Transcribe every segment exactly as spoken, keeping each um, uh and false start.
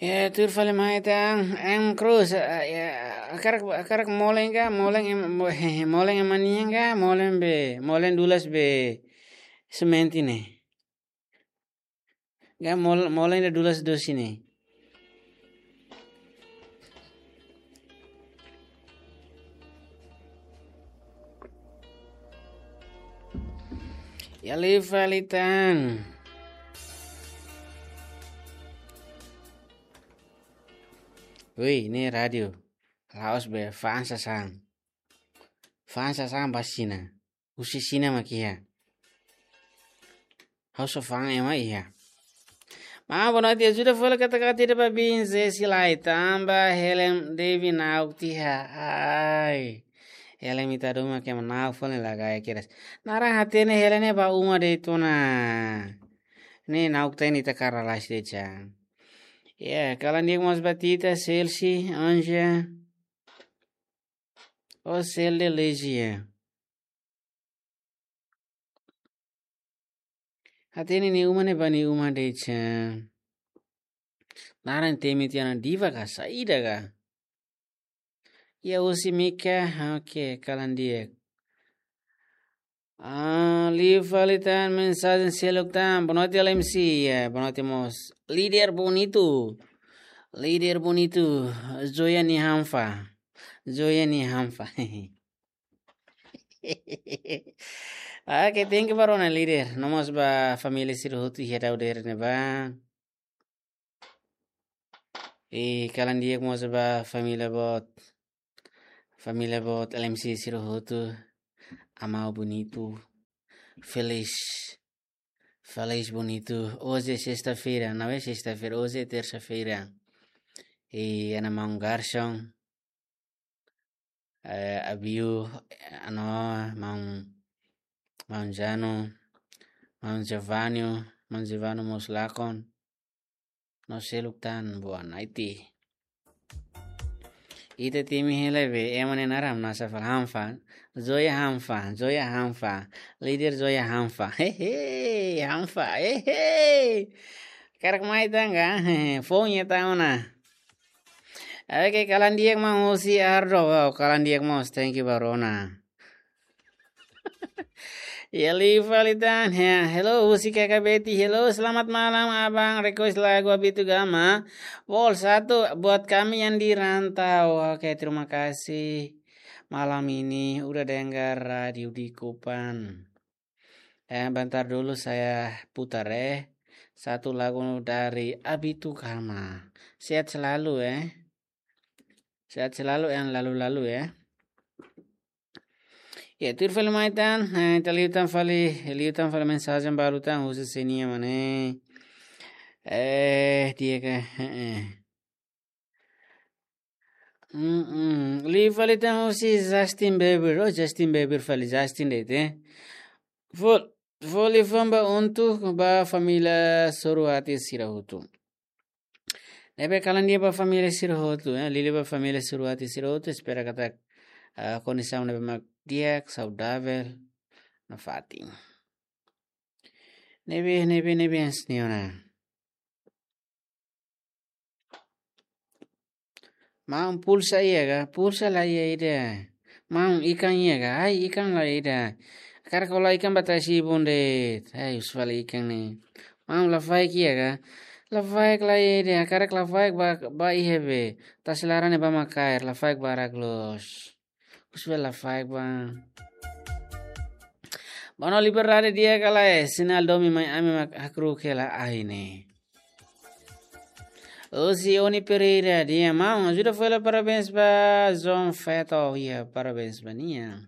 Ya, tuir fali mai tan, em Cruz, eh, ya, hakarak, hakarak molen ka, molen em, mo-, molen ema nian ka, molen be, molen dulas be semente ne'e. Ka mol-, molen ida dulas dosi ne'e. Ya liu fali tan. Woi, ne'e rádiu. La'ós be fa'an sasán. Fa'an sasán ba Xina. Husi Xina mak iha. Ha'u só fa'an ema iha. Maun, boa noite, ajuda fali kata-kata ida ba bin Zesi lai, tanba Helen Devi na'ok tiha. Ai. Helen ita doma ke na'ok fali la gaya kedas. Naran hatene Helen ne'e ba uma de'it ona. Ne'e na'ok tiha ne'e ita kara lais de'it. Ya, kalan di'ak mós ba Tita, Celsi, Anja. O Sel de Legia. Hatene nia uma ne'e ba nia uma de'it. Naran temi tiha ona Diva ka, saida ka. Ya husi Mika, oke, kalan di'ak. Ah, liu fali tan mensajen seluk tan. Boa noite, L M C. Ya, boa noite mós. Líder bonitu. Líder bonitu. Joia nia hanfa. Joia nia hanfa. Oke, thank you ba rona líder. No mós ba família sira hotu iha daudaun ne'ebá. I kalan di'ak mós ba família boot. Família boot L M C sira hotu. Amau bonitu. Feliz. Feliz bonitu. Hoje é sexta-feira, não é sexta-feira, hoje é terça-feira. I ana maun Garson. Eh, Abiu, eh, ano, maun, maun Jano, maun Giovanni, maun Giovanni mós lakon. No seluk tan boa noite. Ita temi hela be, ema ne'e naran nasa fal hanfa. Joia hanfa, joia hanfa. Líder joia hanfa. Hehe, hanfa, hehe. Karak mai tanga, hehe, fonya tauna. Oke, kalan di'ak maun husi Ardo. Wow, kalan di'ak mós, thank you ba rona. Ya liu fali tan. Ya, hello, husi K K B T. Hello, selamat malam, Abang. Request lagu Abitu Gama. Vol satu buat kami yang di rantau. Oke, terima kasih. Malam ini udah dengar radio di Kupang. Eh, bentar dulu saya putar, eh. Satu lagu dari Abitu Gama. Sehat selalu, eh. Sehat selalu, yang lalu-lalu, ya. Ya, tuir fali mai tan, eh, ita liután fali, liután fali mensajen balu tan, husi Senia mane. Eh, dia ke, eh, eh. Mm-mm. Liu fali tan husi Justin Bieber. Oh, Justin Bieber fali, Justin de'it, eh. Fol-, foli famba untuk ba família Soruati sira hotu. Ne'ebé kalan di'ak ba família sira hotu, eh, liuliu ba família Soruati sira hotu, espera katak, ah, kondisaun ne'ebé mak di'ak, saudavel, nafatin. Ne'ebé, ne'ebé, ne'ebé, señora. Maun, pulsa iha ka? Pulsa la iha ida. Maun, ikan iha ka? Ai, ikan la iha ida. Hakarak hola ikan ba tasi ibun de'it. Ai, husu fali ikan ne'e. Maun, lafaek iha ka? Lafaek la iha ida. Hakarak lafaek ba, ba iha be. Tasi laran ne'ebá mak kaer, lafaek barak loos. Husu fali lafaek ba. Mano, liberdade di'ak ka lae, sinál domin mai ami mak hakruuk hela ahi ne'e. Husi Oni Pereira, di'ak maun, ajuda fali parabéns ba João Feto, ya, parabéns ba nia.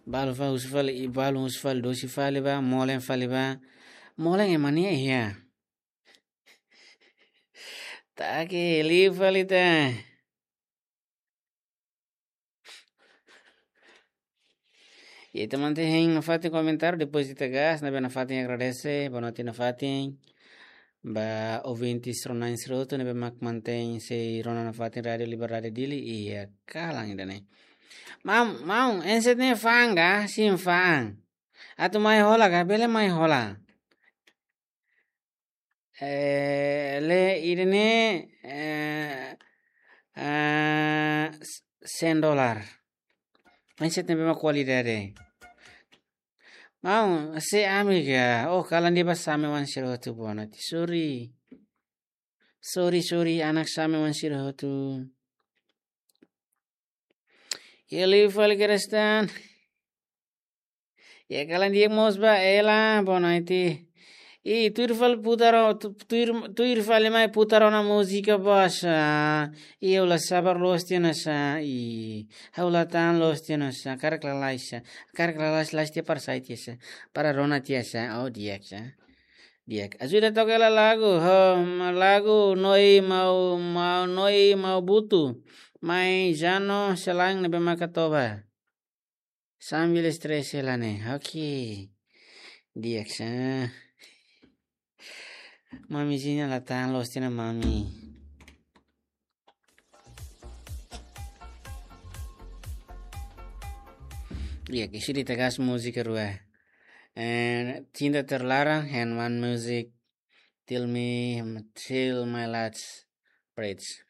Balu fa husu fali, i balu husu fali, dosi fali ba, molen fali ba. Molen ema nia iha. Take, liu fali ta. Ya, ita mantein hein nafatin komentáriu, depois ita gas, ne'ebé nafatin agradese, boa noite nafatin. Ba ouvintes rona-na'in sira hotu, ne'ebé mak mantein sei rona nafatin Rádio Liberdade Dili, iha kalan ida-ne'e. Maun, maun, enset ne'e fa'an ka? Sin, fa'an. Atu mai hola ka? Bele mai hola. Eh, le ida-ne'e, eh, ah, s-, sen dolar. Enset ne'ebé mak kualidade. Maun, se ami ka. Oh, kalan de'it ba Same wan sira hotu bono ti. Sorry. Sorry, sorry, anak Same wan sira hotu. Iha liu fali Kristan. Iha kalan di'ak mós ba Ela, boa noite. I tuir fali putar o-, tu-, tuir, tuir fali mai putar ona múzika boa sá. I ha'u la sabar loos tiha ona sá. I ha'u la tahan loos tiha ona sá. Hakarak lalais sá. Hakarak lalais, lais tiha para sai tiha sá. Para rona tiha sá. Oh, di'ak sá. Di'ak. Ajuda toka hela lagu, ho, ma-, lagu Noi Mau, Mau, Noi Mau Butu. Mai Jano Selang ne'ebé mak katoba. Sambil stres hela ne'e. Oke. Di'ak sá. Mami Zina la tahan loos tiha ona mami. Di'ak, isi di tegas múzika rua. And Cinta Terlarang and one music, Till Me, Till My Last Breath.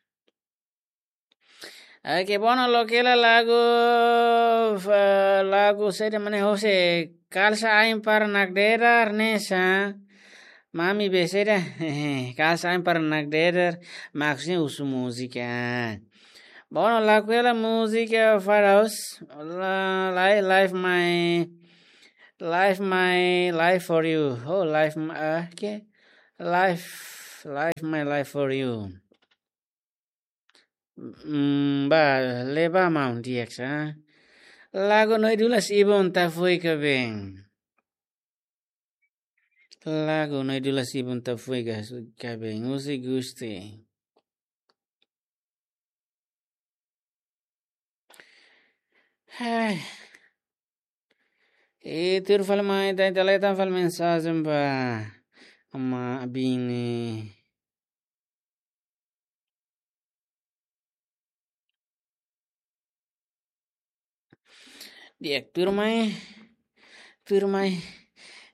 Oke, bono, loke hela lagu, fa-, lagu saida mak ne'e, Jose, Kalsa Ain Para Nakdedar ne'e sá. Mami be saida, Kalsa Ain Para Nakdedar, maksudnya husu múzika. Bono, laku hela múzika Faraos, la-, lai-, Life My, Life My Life For You. Oh, Life My, ah, ke? Life, Life My Life For You. Mm, ba, le ba maun, di'ak sá. Lagu Noi Dulas Ibun Tafuika Beng. Lagu Noi Dulas Ibun Tafuika Beng. Husi Gusti. Hai. I tuir fali mai, ita, ita leta fali mensajen ba Ama Abini. Di'ak, tuir mai, tuir mai,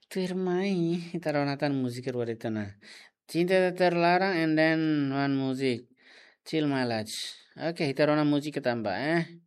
tuir mai. Ita rona tan múzika rua de'it ona. Cinta Terlarang and then one music, Till My Last. Oke, ita rona múzika tanba, eh.